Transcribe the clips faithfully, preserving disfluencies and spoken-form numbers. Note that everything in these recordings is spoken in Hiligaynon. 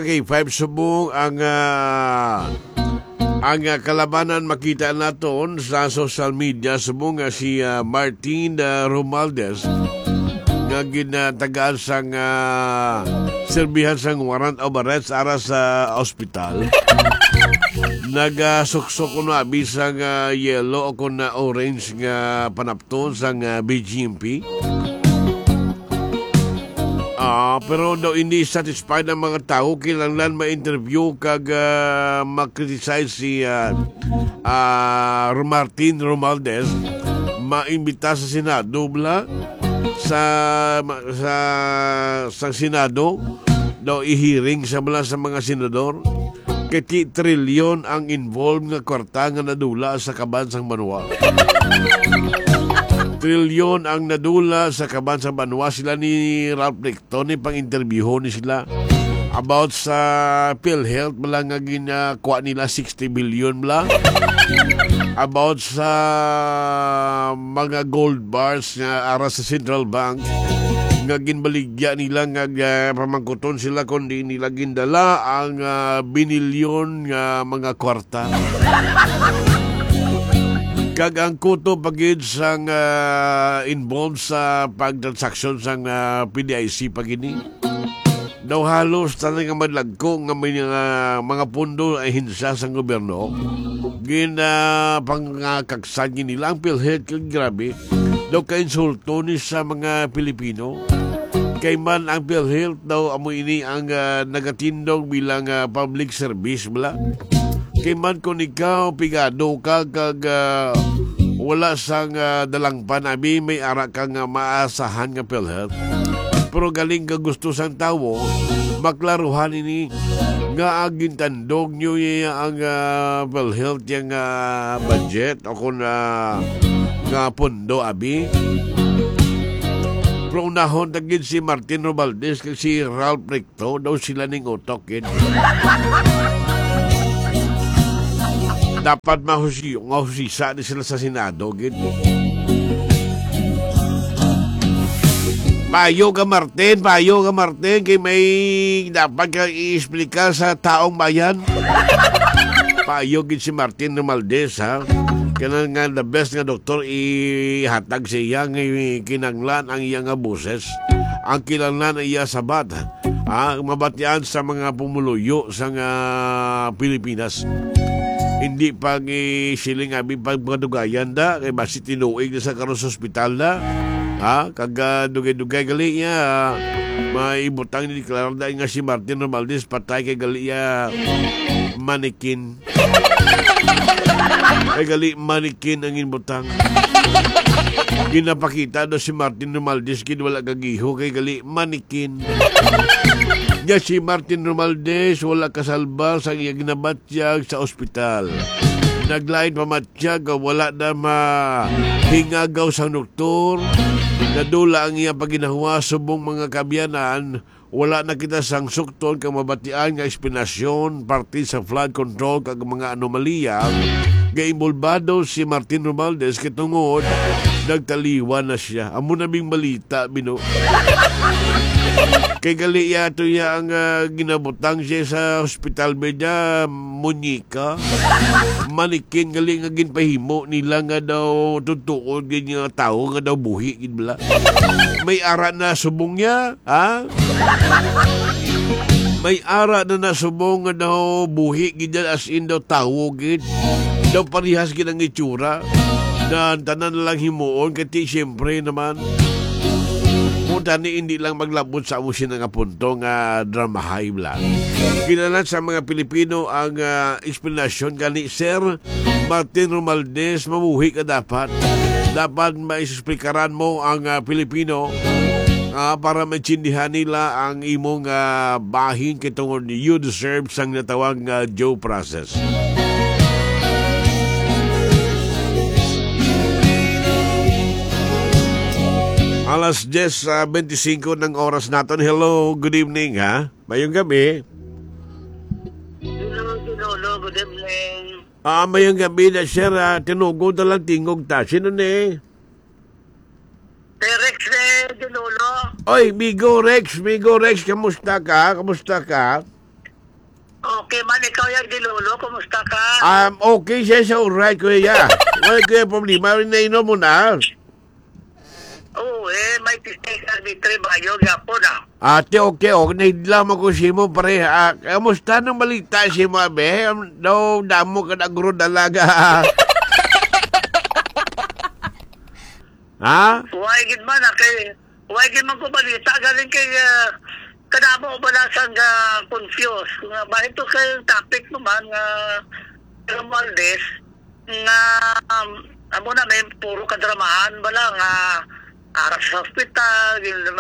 K five subong ang, ah, ang, ah, kalabanan makita naton sa social media subong nga si, ah, Martin, ah, Romualdez nga ginatagaan sang, ah, serbihan sang warrant of arrest ara sa ospital. Nagasuksok kuno abi sang, ah, yellow o kon, ah, orange nga panapton sang, ah, B G M P. Ah, pero daw hindi satisfied ang mga tawo, kinahanglan ma-interview kag, ah, ma-criticize si, ah, ah, Martin Romualdez, maimbita sa Senado bala, sa, sa, sa Senado daw i-hearing sa bala sa mga senador. Kay ti trilyon ang involved nga kwarta nga nadula sa kaban sang banwa. Trilyon ang nadula sa kaban sang banwa. Sila ni Ralph Recto ni pang-interviewon ni sila about sa PhilHealth bala nga ginakuha nila sixty billion bala. About sa mga gold bars nga ara sa Central Bank nga ginbaligya nila nga, ah, pamangkuton sila kung di nila gindala ang, ah, binilyon nga mga kwarta. Kag ang kuto pa gid sang, ah, involved sa pagtransaksyon sang, ah, P D I C pa gini. Daw halos tanan nga madlagko nga may nga mga pondo, ahensya sang gobyerno, ginapangakaksan gid nila ang PhilHealth. Kag grabe, daw kainsulto ni sa mga Pilipino. Kay man ang PhilHealth daw amo ini ang, ah, nagatindog bilang, ah, public service bala. Kay man kung ikaw pigado ka kag, ah, wala sang, ah, dalangpan, abi, may ara ka nga maasahan nga PhilHealth. Pero galing ka gusto sang tawo, maklaruhan ini nga gintandog nyo iya ang, ah, PhilHealth yang, ah, budget o kung, ah, nga pondo, abi. Pero unahon ta gid si Martin Romualdez kag si Ralph Recto. To, daw sila ning utok, gid. Dapat mahusi-, mahusisa ni sila sa Senado, gid. Payo ka, Martin. Payo ka, Martin. Kay may dapat ka i-explicar sa taong bayan. Payo gid si Martin Romualdez, ha? Kailangan nga the best nga doktor ihatag sa iya nga kinanglan ang iya nga boses. Ang kinanglan ang iya sabat. Ah, mabatian sa mga pumuluyo sa nga Pilipinas. Hindi pag siling abi pag madugayan da, kay basi tinuig na sa karon sa ospital na. Ha? Kag, ah, dugay-dugay gali niya, ah, maibutang ni Clarda nga si Martin Romualdez patay kay gali niya manikin. Kay gali manikin ang inbutang. Ginapakita daw si Martin Romualdez gid wala gagiho kay gali manikin. Nya si Martin Romualdez wala kasalbar sa iya ginabatyag sa ospital. Naglain pa matyag nga wala na mahingagaw sang doktor. Nadula ang iya paginahuwa subong mga kaabyanan. Wala na kita sang sukton kag mabatian nga eksplanasyon parte sa flood control kag mga anomalya nga inbolbado si Martin Romualdez kay tungod nagtaliwan na siya. Amo na bing balita, bino. Kay gali iya to iya ang, ah, ginabutang siya sa hospital bed niya, muñeca. Manikin gali nga ginpahimo nila nga daw tutuod gid nga tawo nga daw buhi gid bala. May ara na subong niya. Ha? May ara na nasubong nga daw buhi gid yan, as in daw tawo gid. Daw parehas gid ang itsura. Na ang tanan na lang himuon, kay ti, siyempre naman. Kung tani, hindi lang maglabot sa amo sina nga punto nga dramahay lang. Kinahanglan sa mga Pilipino ang, ah, eksplanasyon gani, sir. Martin Romualdez, mabuhi ka dapat. Dapat maisplikaran mo ang, ah, Pilipino, ah, para maintindihan nila ang imong, ah, bahin kay tungod you deserve sang natawag nga due process. Alas diyes, ah, bente singko ng oras naton. Hello, good evening, ha? Mayong gabi. Hello, Ginolo. Good evening. Ah, mayong gabi na, sir, ah. Tinugod na lang tingog ta. Sino ni? Kay Rex, eh, Ginolo. Oy, Migo Rex, Migo Rex, kamusta ka? Kamusta ka? Okay man, ikaw yan, Dilolo, kumusta ka? Um, okay siya, siya alright, kuya. Wala, kuya, problema. Nainom mo na? Oo, eh, may T C S R B three bayo, gapon, ah. Ate, okay, okay. Nahidlam ako sa imo, pare. Ah, kamusta nang balita sa imo, abe? Am, daw, damo ka na guro dalaga. Ha? Why gid man, ah, kay, why gid man ko balita, galing kay, ah, kadamo bala sang, ah, confused. Nga, bahit to kay topic naman nga Romualdez, nga, um, amo na, may puro kadramahan bala nga ara sa hospital, gin-,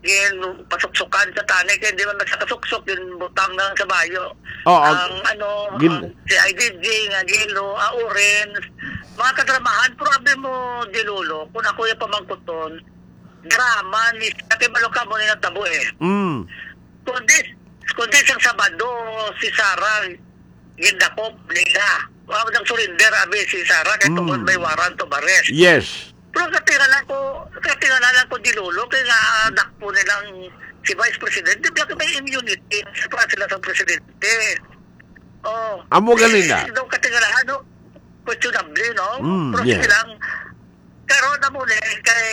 gin-, pasuksukan sa tanay, kay di man magsakasuksok, ginbutang na lang sa bayo. Oh, ang, ang, ano, gin- ang si I D G, nga Gilo, ah, Orange, mga kadramahan, pero abi mo, Dilolo, kung ako yung pamangkuton, drama ni, kay balo ka mo ni natabo eh. Mm. Kundi, kundi sang Sabado, si Sarah, gindakop nila. Wa nang surrender, abi, si Sarah, kay Mm. tungod may warrant of arrest. Yes. Pero katingala ko, katingala lang ko, Dilolo, kay nga, ah, dakpo nilang si Vice President, di ba may immunity sa sila sa presidente. Oh. Amo gani na. Eh, daw katingala, ano, questionable, no? Mm, pero yes. Sige lang, karon na mo ni, kay,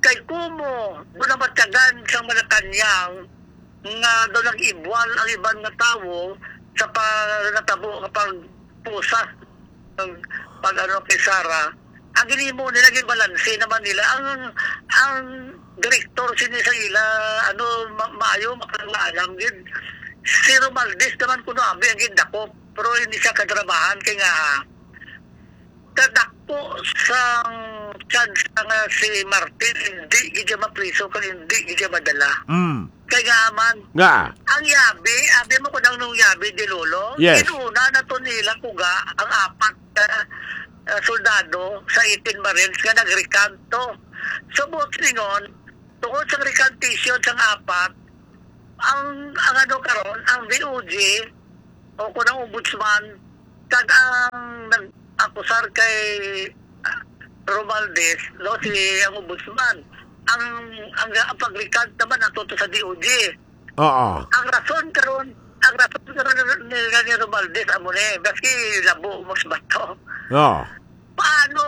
kay kumo, doon na matyagan sa Malacañang, nga daw nag-ibwal ang iban nga tawo sa pa-, natabo nga pagpusa, pag, pag ano kay Sarah. Ang ginhimo nila, ginbalanse naman nila. Ang, ang direktor sini sa ila, ano, ma-, maayo, makalalam gid. Si Romualdez naman kuno abi ang gindakop, pero hindi siya kadramahan kay nga kadakpo sang chance nga si Martin hindi gid siya mapriso kag hindi gid siya madala. Mm. Kay nga man, nga ang yabi, abi mo kung anong yabi, Dilolo? Yes. Inuna na to nila kuga ang apat ka, ah, soldado sa eighteen Marines nga nagrekanto. So, buot silingon, tungod sa recantation sang apat, ang, ang ano karon, ang D O J, o kung ang ombudsman, kag ang nag-akusar kay, ah, Romualdez, no, si ang ombudsman, ang, ang, ang pag-recant naman ato to sa D O J. Oo. Ang rason karon, ang rason karon ni, ni, ni Romualdez, amo ni, maski labo, mas bato. Oo. Paano,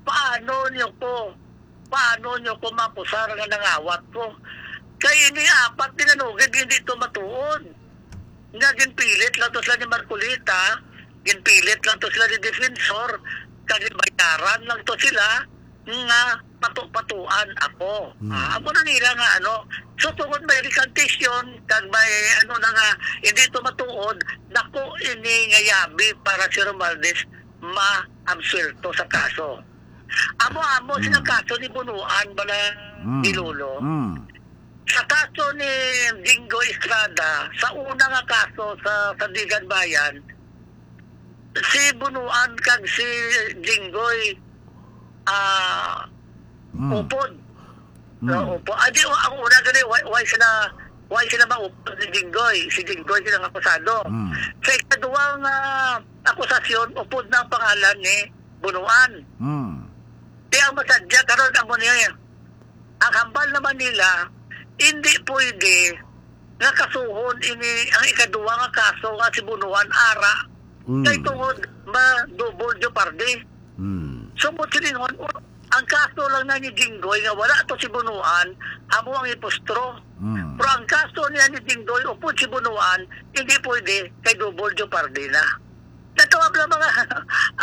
paano niyo ko, paano niyo ko makusar nga nangawat ko? Kay ini apat pinanugid, hindi to matuod. Nga ginpilit lang to sila ni Marcoleta, ginpilit lang to sila ni Defensor, kag bayaran lang to sila nga pato-patuan ako. Hmm. Ah, amo na nila nga ano. So, tungod may recantation, kag may ano na nga, hindi to matuod, dako ini nga yabi para si Romualdez ma-absuelto sa kaso. Amo-amo sila Hmm. kaso ni Bunuan bala Hmm. ni Lolo. Hmm. Sa kaso ni Jinggoy Estrada, sa una nga kaso sa Sandigan Bayan, si Bunuan kag si Jinggoy, ah, Hmm. upod. Hmm. Ah, upod. Ah, di, ang una gani, why, why sila, why sila maupod ni Jinggoy? Si Jinggoy sila nga akusado. Hmm. Sa ikaduwang, ah, akusasyon, upod na ang pangalan ni Bunuan. Hmm. Di ang masadya karon amo niya. Ang hambal naman nila, hindi pwede nga kasuhon ini ang ikaduwa nga kaso nga si Bunuan ara. Mm. Kay tungod ma-double jeopardy. Mm. So, mo silingon, ang kaso lang na ni Jinggoy nga wala to si Bunuan, amo ang ipustro. Mm. Pero ang kaso niya ni Jinggoy upod si Bunuan, hindi pwede kay double jeopardy na. Natawag lang mga,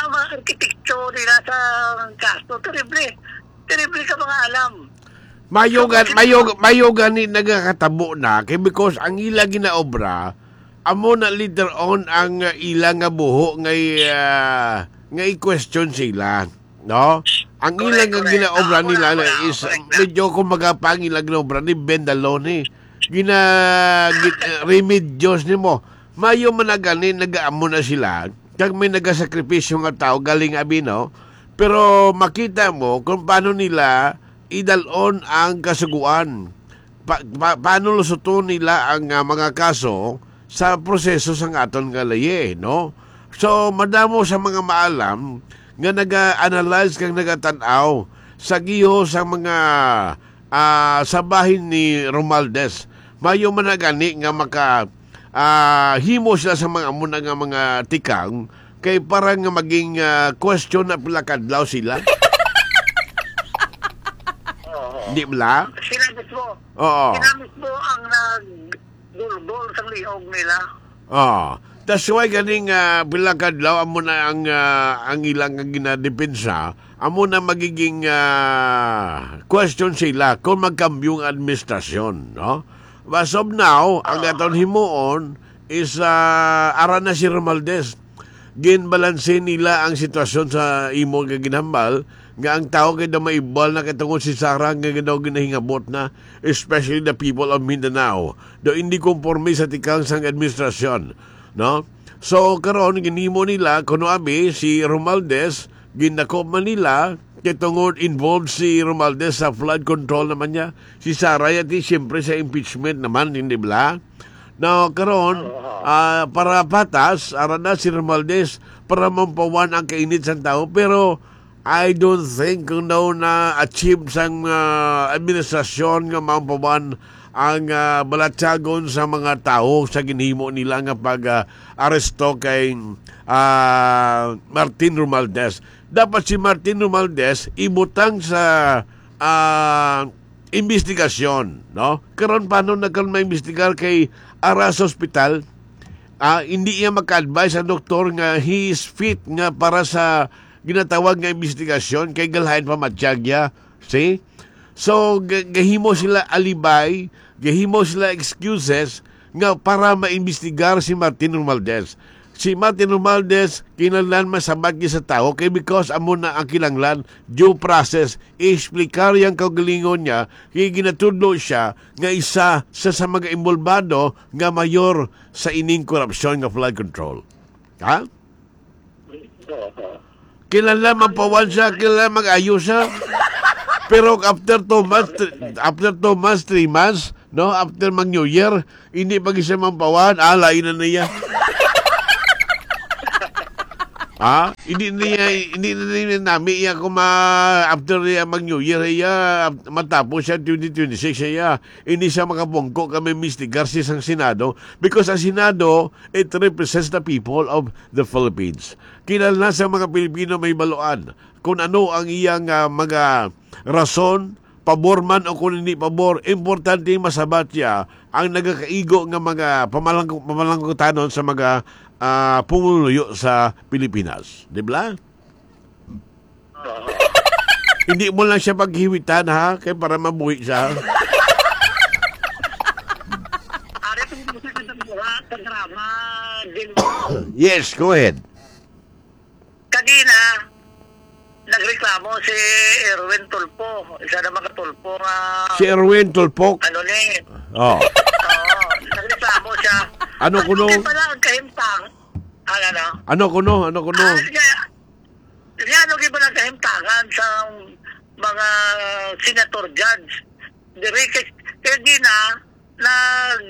ang mga arkitekto nila sa kaso. Terrible. Terrible ka mga alam. Mayo So, gan-, kasi mayo, mayo gani nagakatabo na kay because ang ila ginaobra amo na later on ang, uh, ila nga buho nga i-, uh, nga i-question sila, no? Ang ila Correct, nga correct. ginaobra Ah, nila wala, na wala. is, uh, Correct na. medyo kumbaga pa ang ila ginaobra ni Ben Daloni. Gina-, gin-, uh, remedios nimo. Mayo man na gani, nagaamo na sila. Kag may nagasakripisyo nga tao galing abi, no? Pero makita mo kung paano nila idalon ang kasugoan. Pa-, pa-, paano lusuton nila ang, ah, mga kaso sa proseso sang aton nga laye, no? So, madamo sa mga maalam nga naga-analyze kag nagatan-aw sa giho sa mga, ah, sa bahin ni Romualdez. Mayo man na gani nga maka-, ah, himo sila sa mga amo na nga mga tikang, kay para nga maging, ah, question na pila ka adlaw sila. Oo. Di bala? Sila mismo. Oo. Sila mismo ang nagdulgol sa liog nila. Ah, that's why ganing, ah, pila ka adlaw amo na ang, ah, ang ilang nga ginadepensa, amo na magiging, ah, question sila kung magkambyo ang administrasyon, no? As of now, ang Ah. aton himuon is, ah, ara na si Romualdez. Ginbalanse nila ang sitwasyon sa imo nga ginhambal nga ang tawo kay daw maibal na kay tungod si Sara nga daw ginahingabot na, especially the people of Mindanao. Daw hindi konforme sa tikang sang administrasyon, no? So, karon, ginhimo nila, kuno abi, si Romualdez, gindakop man nila, kay tungod involved si Romualdez sa flood control naman niya. Si Sara yati, siyempre, sa impeachment naman, hindi bala? Now, karon, Oo. ah, para patas, ara na si Romualdez, para mampawan ang kainit sang tawo. Pero, I don't think kung daw na-achieve sang, ah, administrasyon nga mampawan ang, ah, balatyagon sa mga tawo sa ginhimo nila nga pag, ah, aresto kay, ah, Martin Romualdez. Dapat si Martin Romualdez ibutang sa, ah, imbestigasyon, no? Karon, paano na karon maimbestigar kay ara sa ospital? Ah, hindi iya maka-advise ang doktor nga he is fit nga para sa ginatawag nga imbestigasyon kay galain pa matyag iya. See? So, ga-, gahimo sila alibay, gahimo sila excuses nga para maimbestigar si Martin Romualdez. Si Martin Romualdez, kinahanglan masabat niya sa tawo kay because amo na ang kinahanglan, due process, i-explicar yang kaugalingon niya, kay ginatudlo siya nga isa sa, sa mga involbado nga mayor sa ining korupsyon nga flood control. Ha? Kinahanglan mampawan siya, kinahanglan mag-ayo siya. Pero after two months, thr-, after two months, three months, no? After mag New Year, hindi pa siya mampawan, ah, lain na niya. Ha? Hindi niya, hindi na niya nami iya kung ma-, after niya mag New Year, iya, matapos siya twenty twenty-six, iya. Hindi siya makapungko kami, Mister Garcia, sang Senado, because ang Senado, it represents the people of the Philippines. Kinahanglan sa mga Pilipino mahibaluan kung ano ang iyang, ah, mga rason, pabor man o kung hindi pabor. Importante masabat niya ang nagakaigo nga mga pamalangko-, pamalangkutanon sa mga, ah, pumuluyo sa Pilipinas. Di ba? Oo. Hindi mo lang siya paghiwitan, ha? Kaya para mabuhi siya. Ari, kung gusto ko sa buha, sa drama, din. Yes, go ahead. Kanina, nagreklamo si Erwin Tulfo, isa na mga Tulfo nga Si Erwin Tulfo? Ano ni? Oh. Oo, nagreklamo siya. Ano Ano kuno? Di pala ang kahimtang? Ano, ano? Ano kuno? Ano kuno? Ah, kaya, Kaya ano gyud ba nagkahimtangan sa mga senator judge? Diri kay, kay gina, nag,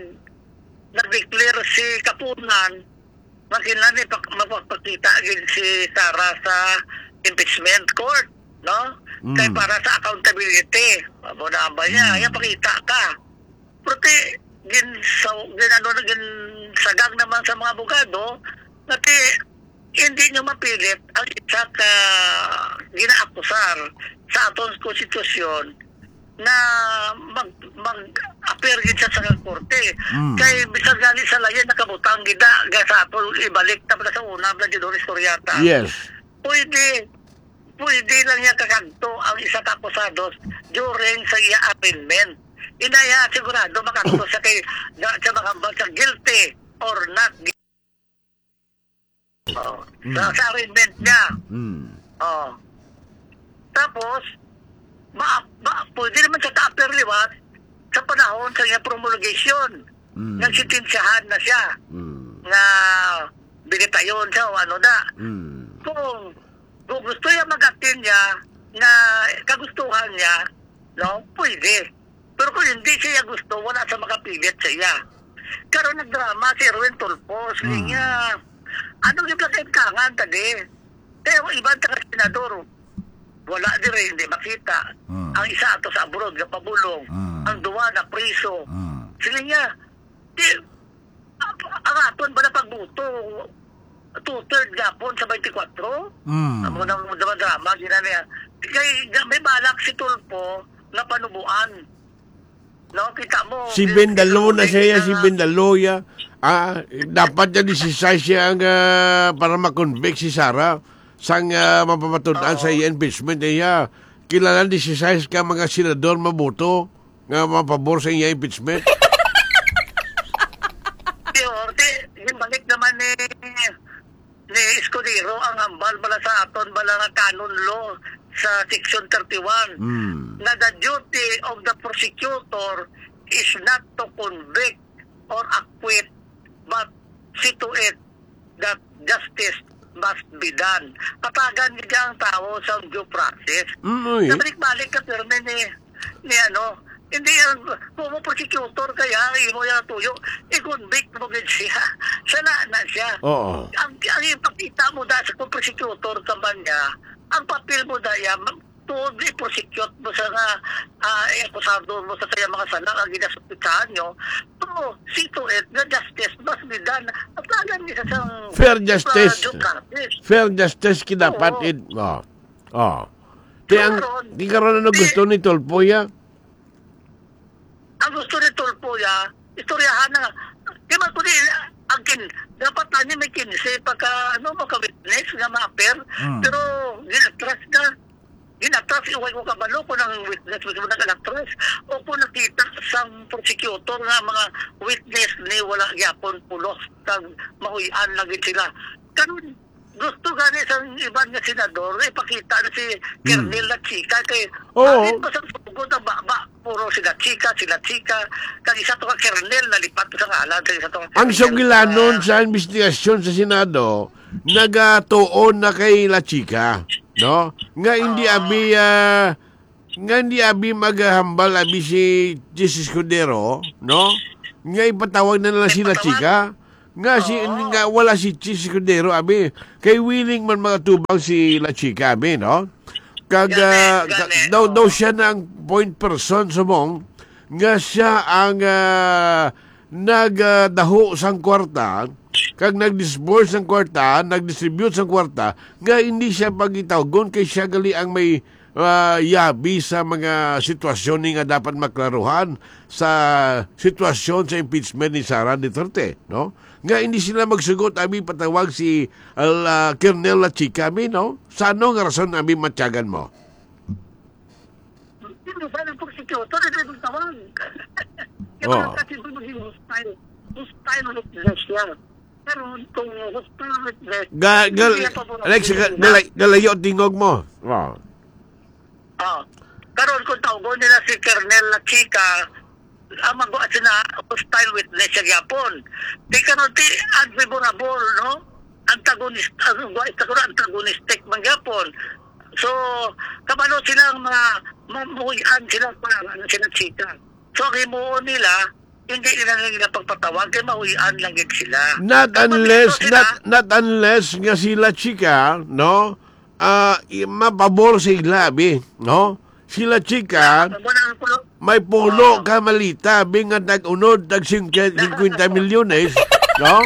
nag-declare si Kapunan nga kinahanglan ipak-, mapagpakita gyud si Sara sa impeachment court, no? Kay Mm. para sa accountability. Amo na ba niya? Mm. Iya, pakita ka. Pero ti, ginsaw-, gin-, ano na, ginsagang naman sa mga abogado nga ti, hindi nyo mapilit ang isa ka ginaakusar sa aton konstitusyon na mag-, mag-appear gid siya sa korte. Mm. Kay bisan gani sa layan, nakabutang gid na, ga sa ato, ibalik na pala sa una, Bla Judon Istoriata. Yes. Pwede, pwede lang niya kakadto ang isa ka akusados during sa iya arraignment. Inaya, sigurado makadto siya kay, na, siya makambal siya guilty or not guilty. Oh, Mm. sa, sa arraignment niya. Mm. Oh. Tapos, ma, ma, pwede naman siya ka-appear liwat sa panahon sa iya promulgation. Mm. Nagsintensyahan na siya Mm. nga binitayon siya o ano na. Mm. Kung, kung gusto niya mag-attend niya nga kagustuhan niya, no, pwede. Pero kung hindi siya gusto, wala sa makapilit sa iya. Karon nagdrama si Erwin Tulfo, sige Mm. niya. Ano yung kakaitangan tadi? Kaya ang iban taga senador, wala dire, hindi makita. Mm. Ang isa ato sa abroad, nga pabulong. Mm. Ang duwa na priso. Mm. Sige niya, di, Ang aton ba na pagbuto? Two-third gapon sa twenty-four? Mm. Amo nang drama-drama, gina niya. Kay may balak si Tulfo nga panubuan. No, kita mo, Si Bendalo na siya, si Bendalo, ya. Ah, dapat niya disisay siya ang, ah, para ma-convict si Sara sang, ah, mapamatud-an sa Oo. iya impeachment, iya. Kilala disisay ka mga senador maboto nga mapabor sa iya impeachment. Pero, di, yung balik naman ni, ni Escudero ang hambal bala sa aton bala nga canon law sa section thirty-one Hmm. na the duty of the prosecutor is not to convict or acquit, but see to it that justice must be done. Hatagan niya ang tao sa due process. Mm, oy. Nabalik-balik ka, pero ni, ni ano, hindi yan, kung mo prosecutor kaya, imo yan tuyo, i-convict mo gid siya. Sala na siya. Oo. Ang, ang ipakita mo da sa kung prosecutor ka man niya, ang papel mo da yan, tuod i-prosecute mo sa nga, ah, i-akusado mo sa kaya mga sala nga ginasuspetsahan nyo, pero see to it nga justice must be done. At lagan ni sa sang, Fair justice. ah, due process. Fair justice ki dapat Oo. it, oh. Oh. Kaya ang, Karon, di karon ano di gusto ni Tulfo, ya? Ang gusto ni Tulfo, ya, istoryahan na. Di ba, kundi, ang kin-, dapat na niya may kinse pagka, ano, maka-witness nga ma-appear. Hmm. Pero, ginatras na. Ginatras, iway ko kabalo kung ang witness mismo nag-alatras. O kung nakita sang prosecutor nga mga witness ni wala gyapon pulos kag mahuy-an lagi sila. Karon, gusto gani sang iban nga senador, ipakita na si Hmm. Colonel Lachica kay Oo. Bakit pa sa sugod ang baba? Puro sila chika, sila chika. Kag isa to ka Colonel, nalipat sa ngalan sa isa to ka Ang Colonel. sugilanon Ah. sa investigasyon sa Senado, nagatuon na kay Lachica, no? Nga hindi Oo. abi, ah, nga hindi abi maghambal abi si Chiz Escudero, no? Nga ipatawag na lang si Ipatawag? Lachica. Nga si, Oo. nga wala si Chiz Escudero, abi. Kay willing man magatubang si Lachica, abi, no? Kag, Gani, ah, gani, ka-, daw, daw oo. siya na ang point person, subong nga siya ang, ah, nagdaho sang kwarta, kag nag-disburse sang kwarta, nag-distribute sang kwarta, nga hindi siya pagitawgon kay siya gali ang may, ah, yabi sa mga sitwasyon ni nga dapat maklaruhan sa sitwasyon sa impeachment ni Sara Duterte, no? Nga hindi sila magsugot, abi patawag si, ah, Colonel Lachica, abi, no? Sa ano nga rason, abi, matyagan mo? Sino ba ang prosecutor? Ito yung tawag. Kaya Oh. Kasi ito maging hostile. Hostile witness siya. Pero kung hostile witness, Ga-, gal-, hindi niya paborito Alex, ga-, nila. galay-, galayo tingog mo. Oh. Oh. Karon kung tawgon nila si Colonel Lachica, ang mag-, sina hostile witness siya gyapon. Di karon ti unfavorable, no? Antagonist-, ano, wa, ito ko na, antagonistic man gyapon. So, kabalo sila ang mga mamuhian sila pa, ano, sila chika. So, ang himuon nila, hindi nila nila pagpatawag, kay mahuyan lang gid sila. Not Kapag unless, ito sila, not, not unless nga sila chika, no? Ah, i-, mapabor sa ila, abi, no? Sila chika, Amo na ang pulo. may pulo Oo. ka malita, abi, nga nag-unod, tag singke-, singkwenta milyones, no?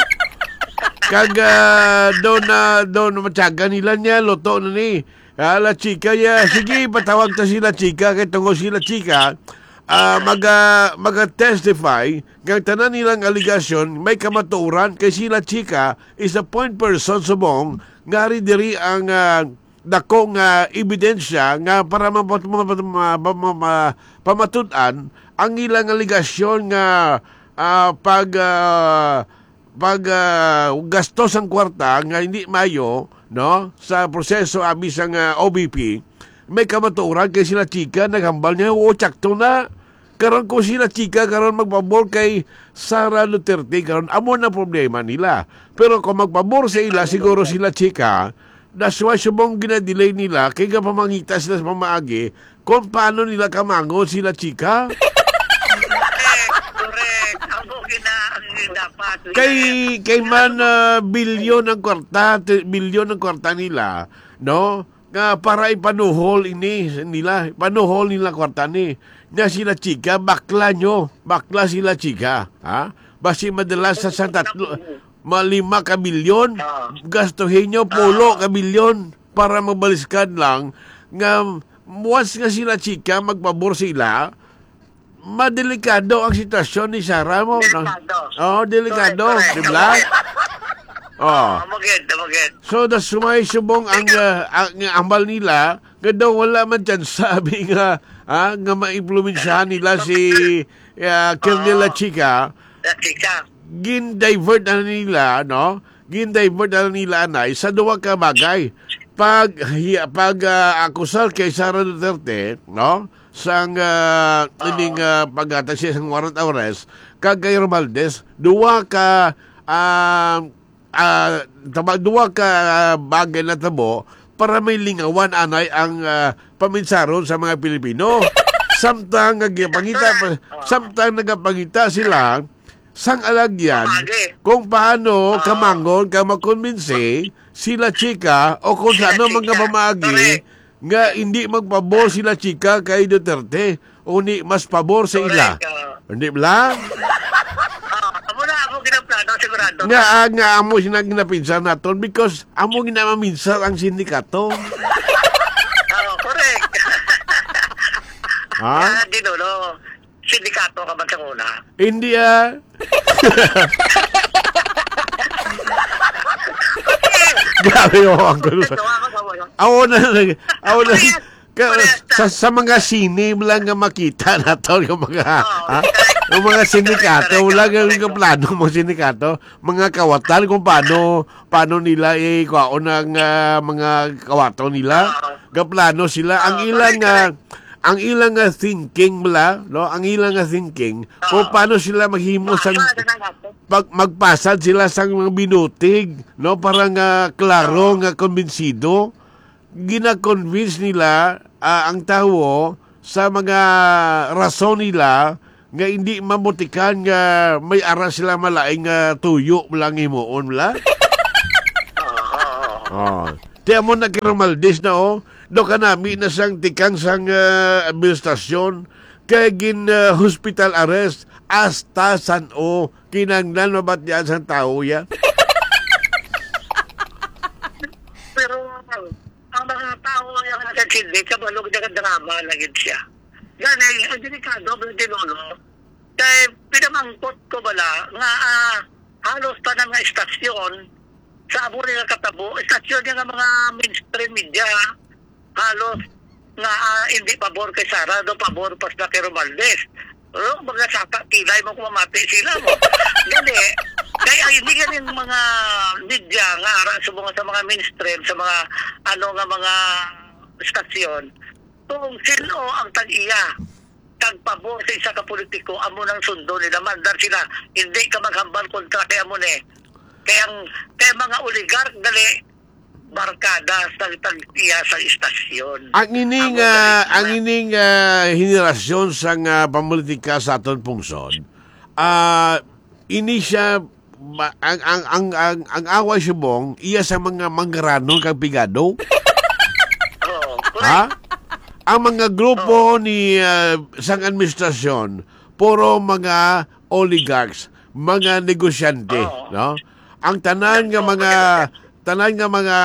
Kag, ah, doon na, doon na matyaga nila niya, luto na ni. Ah, La Chica, ya, sige, patawag ta sila Chica, kay tungod sila Chica, ah, maga-, maga-testify nga ang tanan nilang aligasyon may kamatuoran kay sila Chica is a point person subong nga ari diri ang, ah, dako nga ebidensya nga para mapat-, mapat-, ma-, ma-, ma-, ma-, pamatud-an ang ilang aligasyon nga, ah, pag, ah, pag, ah, gastos ang kwarta nga hindi mayo, no, sa proseso abi sang, ah, O V P, may kamatuoran kay sila Chica naghambal niya, "Oo, tsakto na." Karon kung sila Chica karon magpabor kay Sara Duterte, karon amo na problema nila. Pero kung magpabor sa ila, siguro sila Chica, that's why subong ginadelay nila, kay gapamangita sila sa pamaagi kung paano nila kamangon sila Chica. Correct, correct. Amo gina-, ang dapat. Kay, kay man, ah, bilyon ang kwarta, ti-, bilyon ang kwarta nila, no? Nga para ipanuhol ini nila, ipanuhol nila kwarta ni. Nga sila Chica, bakla nyo, bakla sila Chica, ha? Basi madala sa, sa tatlo, mga lima ka bilyon, Ah. gastuhin nyo, pulo Ah. ka bilyon para mabaliskan lang nga once nga sila chika, magpabor sila, madelikado ang sitwasyon ni Sara mo, no? Delikado. Oo, delikado, Correct, correct. di ba? Correct. Oh. Ah, magid, magid. So, that's why subong ang, Ikaw ah, ang ambal nila, nga daw wala man dyan sabi nga, ah, nga maimpluwensyahan nila si, ah, Kirnel Oo. Lachica. Lachica. Gin-divert na nila, no? Gin-divert na nila, anay, sa duha ka bagay. Pag, hi-, pag, ah, akusar kay Sara Duterte, no? Sang, ah, Oo. ining, ah, paghatag siya sang warrant of arrest, kag kay Romualdez, duha ka, ah, ah, tama, duha ka, ah, bagay na tabo para may lingawan anay ang, ah, paminsaron sa mga Pilipino. Samtang nga gipangita pa, Oo. samtang nagapangita sila sang alagyan Pamagi. kung paano Oo. kamangon ka makonbinsi sila chika o kung Sila sa ano mga chika. pamaagi Correct. nga hindi magpabor sila chika kay Duterte, uni mas pabor sa ila. Correct, oo. Hindi bala? Ah, amo na, amo ginaplano, sigurado. Nga, ah, nga amo sila ginapinsan naton because amo ginamaminsar ang sindikato. Oo, correct. Ha? Kaya, Ginolo, sindikato ka man sa una. Hindi, ah. Grabe, oh, ang gulo. Ito, ako sa wala. Ako na, ako na. Parehas, Ka-, parehas sa, sa. sa mga sine lang nga makita nato yung mga, Oo, ha? correct. Yung mga sindikato, Correct, wala correct, nga correct. plano mga sindikato, mga kawatan kung paano, paano nila ikuhaon ang, ah, mga kawato nila. Oo. Gaplano sila. Ang Oo, ilang, correct, ah, correct. ang ilang, ah, thinking bala, no? Ang ilang, ah, thinking, kung Oo. paano sila maghimo sang Basta na nato. pag magpasad sila sang mga binutig, no? Para nga klaro Oo. nga kumbinsido. Gina-convince nila, ah, ang tawo sa mga rason nila nga hindi mabutikan nga may ara sila malaing nga tuyo lang himuon, wala? Oo, oo, oo. Oh. Ti amo na kay Romualdez na, oh. Do kanami na sang tikang sang, ah, administrasyon kay gin, ah, hospital arrest hasta san-o kinahanglan mabatian sang tawo ya. Pero ang mga tawo nga nagkakindi, kabalo, nagadrama na gid siya. Gani, ang delikado, Brother Lolo, kay pinamangkot ko bala nga, ah, halos tanan nga istasyon sa amo ni nga katabo, istasyon niya nga mga mainstream media, halos nga, ah, hindi pabor kay Sara, do pabor pa sila kay Romualdez. Pero mga saka kilay mo kung mamati sila mo. Gani, kay ang hindi ganing mga media nga ara sa mga, sa mga mainstream, sa mga ano nga mga stasyon, kung sino ang tag-iya, tagpabor sa isa ka politiko, amo nang sundo nila, mandar sila, hindi ka maghambal kontra kay amo ni. Kay ang, kay mga oligark, dali, barkada sa tag-iya sa istasyon. Ang ining, Amo ah, galing ang na. ining, ah, henerasyon sang, ah, pamolitika sa aton pungsod, ah, ini siya, ma-, ang, ang, ang, ang, ang away subong, iya sa mga manggaranon kag pigado. Oo, correct. Ha? Ang mga grupo Oo. ni, ah, sang administrasyon, puro mga oligarchs, mga negosyante, Oo. no? Ang tanan nga Oo, mga, correct. tanan nga mga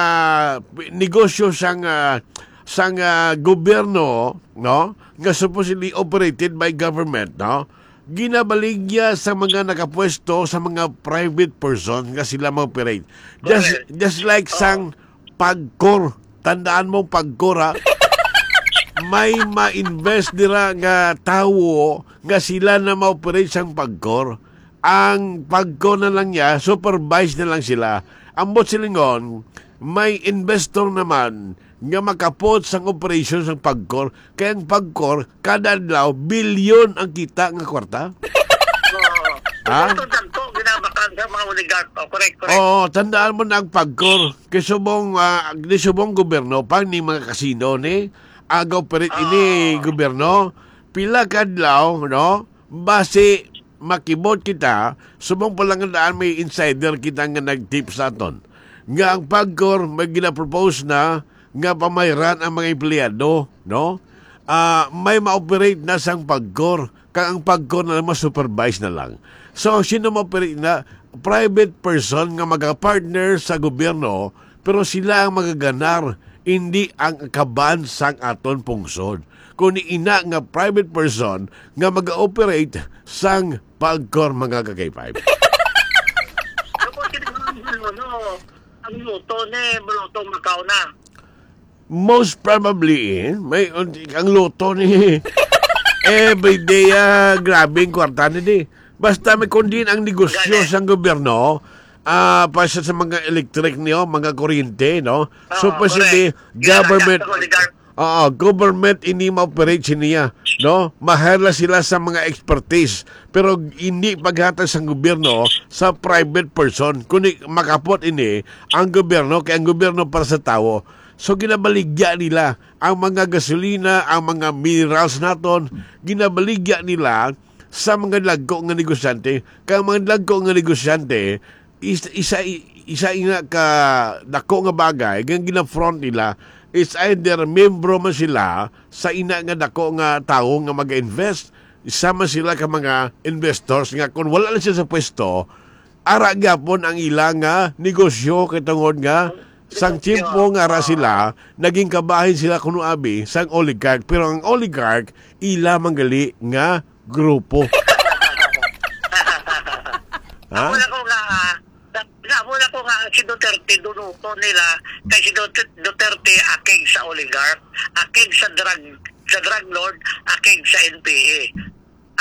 negosyo sang, ah, sang, ah, gobyerno, no? Nga supposedly operated by government, no? Ginabaligya sa mga nakapwesto sa mga private person nga sila mag-operate. Just, Correct. just like Oo. sang PAGCOR. Tandaan mo, PAGCOR, ha? May ma-invest dira nga tawo nga sila na ma-operate sang PAGCOR. Ang PAGCOR na lang niya, supervise na lang sila. Ambot silingon, may investor naman nga makapot sang operasyon sang PAGCOR. Kay ang PAGCOR, kada adlaw, bilyon ang kita nga kwarta. Oo. Ha? Ito, dagko, ginabakal sa mga oligark. Oh, correct, correct. Oo, tandaan mo na ang PAGCOR. Kay subong, ah, di subong gobyerno, pang ni mga kasino ni, aga operate ini Oo. gobyerno. Pila ka adlaw, no? Basi, makibot kita, subong pa lang nga daan may insider kita nga nag-tip sa aton. Nga ang PAGCOR may ginapropose na nga pamayran ang mga empleyado, no? Ah, may ma-operate na sang PAGCOR, kag ang PAGCOR na lang ma-supervise na lang. So, sino mo pili na? Private person nga magapartner sa gobyerno, pero sila ang magaganar, hindi ang kaban sang aton pungsod. Kundi ina nga private person nga mag-operate sang Pagcor, mga ka-K five. Tapos, kini nga ang ano, ang luto ni, luto Macau na. Most probably, eh, may, ang luto ni everyday, ah, grabe ang kwarta ni di. Basta may kundin ang negosyo Gani. sang gobyerno, ah, pa sa, sa mga electric niyo, mga kuryente, no? So, Oo, posible, correct. Yan ang government, sa oligarch. Oo, government ini ma-operate niya, no? Mahal na sila sa mga expertise, pero hindi paghatag sang gobyerno sa private person, kundi makapot ini ang gobyerno, kay ang gobyerno para sa tawo. So, ginabaligya nila ang mga gasolina, ang mga minerals naton, ginabaligya nila sa mga dagko nga negosyante. Kay ang mga dagko nga negosyante, is-, isa, isa ina ka dako nga bagay nga gina-front nila is either membro man sila sa ina nga dako nga tawo nga mag-invest, isa man sila ka mga investors nga kung wala na sila sa pwesto, ara gyapon ang ila nga negosyo kay tungod nga sang tiyempo nga ara sila, naging kabahin sila kuno abi sang oligarch. Pero ang oligarch, ila man gali nga grupo. Ha? Amo na ko nga, ah, na, amo na ko nga si Duterte, dunuto nila, kay si Dut-, Duterte akig sa oligarch, akig sa drug, sa drug lord, akig sa N P A.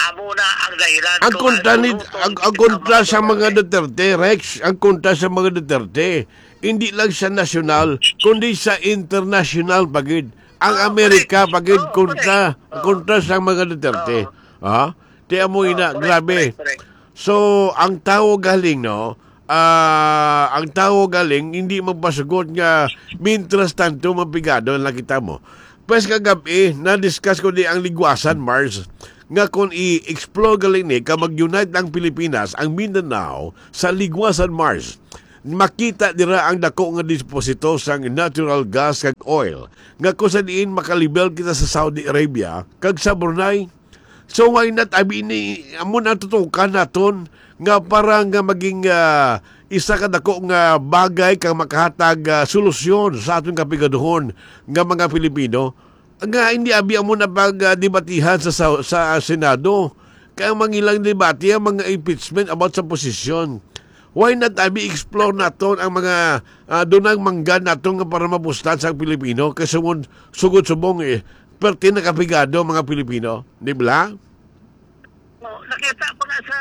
Amo na ang dahilan Ang kung kontra ano ni, dunuto ang, ang kontra sa mga Duterte, Rex, ang kontra sa mga Duterte, hindi lang sa nasyonal, kundi sa international pa gid. Ang Ah, Amerika correct. pa gid Oo, kontra, correct. Oo. kontra sa mga Duterte. Oo. Ha? Ti amo Oo, ina, correct, grabe. correct, correct. So, ang tawo galing, no? Ah, ang tawo galing, hindi magpasugot nga, mintras tanto, mapigado na kita mo. Pues kagab-i, na-discuss ko di ang Ligwasan Mars, nga kung i-explore galing ni, ka mag-unite ang Pilipinas, ang Mindanao, sa Ligwasan Mars, makita dira ang dako nga deposito sang natural gas kag oil, nga kung sa diin makalibel kita sa Saudi Arabia kag sa Brunei. So, why not, abi ni, amo na tutukan naton nga para nga maging, ah, isa ka dako nga bagay kang makahatag, ah, solusyon sa aton kapigaduhon nga mga Pilipino, nga hindi abi amo na pag, ah, debatihan sa, sa, sa Senado. Kay ang mangilang debate ang mga impeachment about sa posisyon. Why not, abi, explore naton ang mga, ah, dunang mangga naton nga para mapustan sa Pilipino? Kay sumon-, sugod subong, eh, perti nakapigado ang mga Pilipino, di ba? Oh, nakita ko na sa,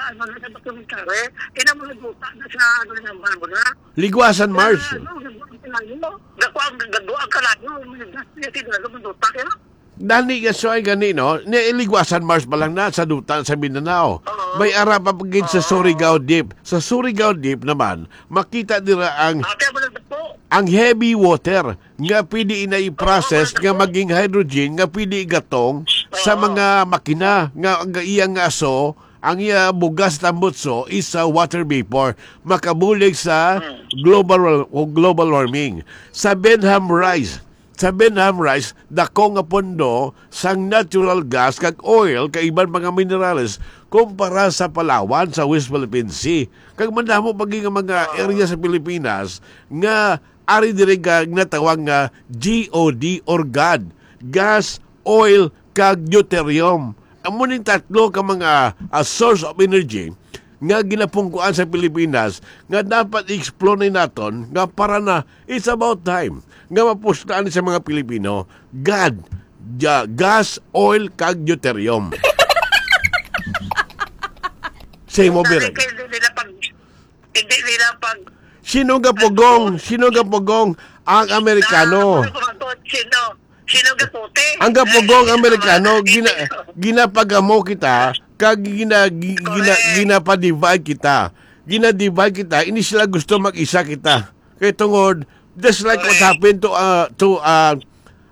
ano, na sa documentary, ina mga duta na sa, ano, na, ano na. Ligwasan Mars. Ano, ano, ano, dako ang, dako ang kalayo, mga gas niya, tinalo, mga duta, kaya? Dani nga, so ay gani, no? Ni Ligwasan Mars pa lang na sa duta sa Mindanao. Oo. May ara pa gid sa Oo. Surigao Deep. Sa Surigao Deep naman, makita dira ang Ate, wala na po. ang heavy water nga pwede na i-process Oo, nga maging hydrogen nga pwede igatong sa Oo. mga makina nga ang iya nga aso, ang iya bugas tambutso is sa water vapor, makabulig sa Hmm. global wa-, o global warming. Sa Benham Rice, sa Benham Rice, dako nga pondo sang natural gas kag oil kag iban mga minerales kumpara sa Palawan, sa West Philippine Sea. Kag madamo pa gid nga mga Oo. area sa Pilipinas nga ari diri nga ginatawag nga G O D or GOD, gas, oil, kag deuterium. Amo ning tatlo ka mga, ah, source of energy nga ginapungkuan sa Pilipinas nga dapat i-explore ni naton nga para na, it's about time nga mapuslaan sa mga Pilipino, GOD, ja-, gas, oil, kag deuterium. Sa imo, Direk. Hindi nila pag, hindi nila pag Sino gapugong? Sino gapugong? Ang Amerikano. Ah, ano ba to? Sino? Sino gaputi? Ang gapugong Amerikano, gina-, ginapagamo kita, kag gina-, gi-, gina-, Correct. ginapa-divide kita. Gina-divide kita, hindi sila gusto mag-isa kita. Kay tungod, just like what Correct. happened to, uh, to, uh,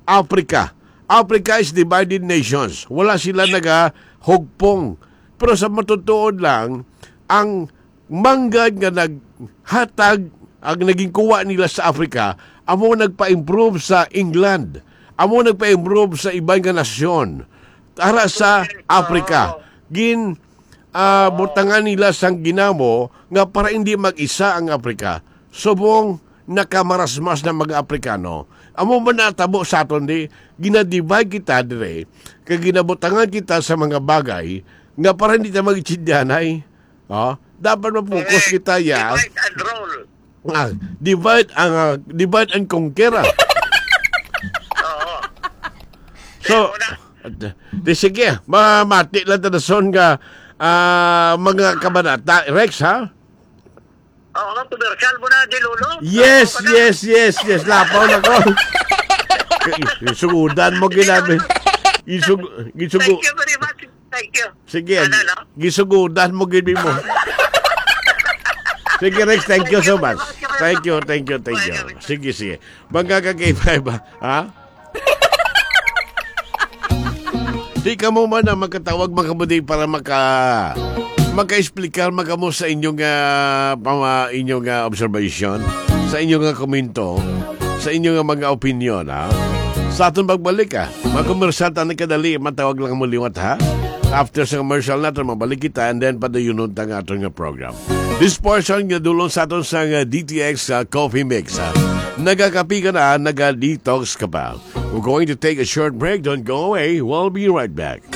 Africa. Africa is divided nations. Wala sila nagahugpong. Pero sa matutuod lang, ang manggad nga naghatag, ang naging kuwa nila sa Africa, amo nagpa-improve sa England, amo nagpa-improve sa iban nga nasyon. Ara sa Correct. Africa, Oo. gin-, ah, butangan nila sang ginamo nga para hindi mag-isa ang Afrika. Subong nakamarasmas na mga Afrikano. Amo man natabo sa aton di, ginadivide kita dire, kay ginabutangan kita sa mga bagay nga para hindi ta magitsindihanay. Oh, dapat ma-focus Correct. kita, ya. Divide and rule. Ah, divide ang, ah, divide and conquer, ah. Oo. So, Kaya mo na. Di sige, mamati lang ta dason nga, ah, mga kabanata. Rex, ha? Oo, nga, commercial mo na, di, Lolo? Yes, Lapaw ka na. yes, yes, yes. Lapaw na ko. Gisugudan mo, ginabi. Gisug-, gisugu- Thank you very much. Thank you. Sige, Ano, no? gisugudan mo, gini mo. Sige, Rex, thank you so much. Thank you, thank you, thank you. Sige, sige. Mga ka-K five, ha? Di kamo man ang makatawag, mga kabudi, para maka-, maka-explicar man kamo sa inyong, ah, pama-, inyong, ah, observation, sa inyong, ah, komento, sa inyong, ah, mga opinion, ha? Sa aton pagbalik, ha? Mga komersante, nagkadali, matawag lang mo liwat, ha? After sa commercial naton, mabalik kita, and then padayunon ta nga aton nga program. This portion nga dulong sa aton sa, ah, D T X, ah, Coffee Mix, ha? Nagakapi ka na, naga-detox ka pa. We're going to take a short break. Don't go away. We'll be right back.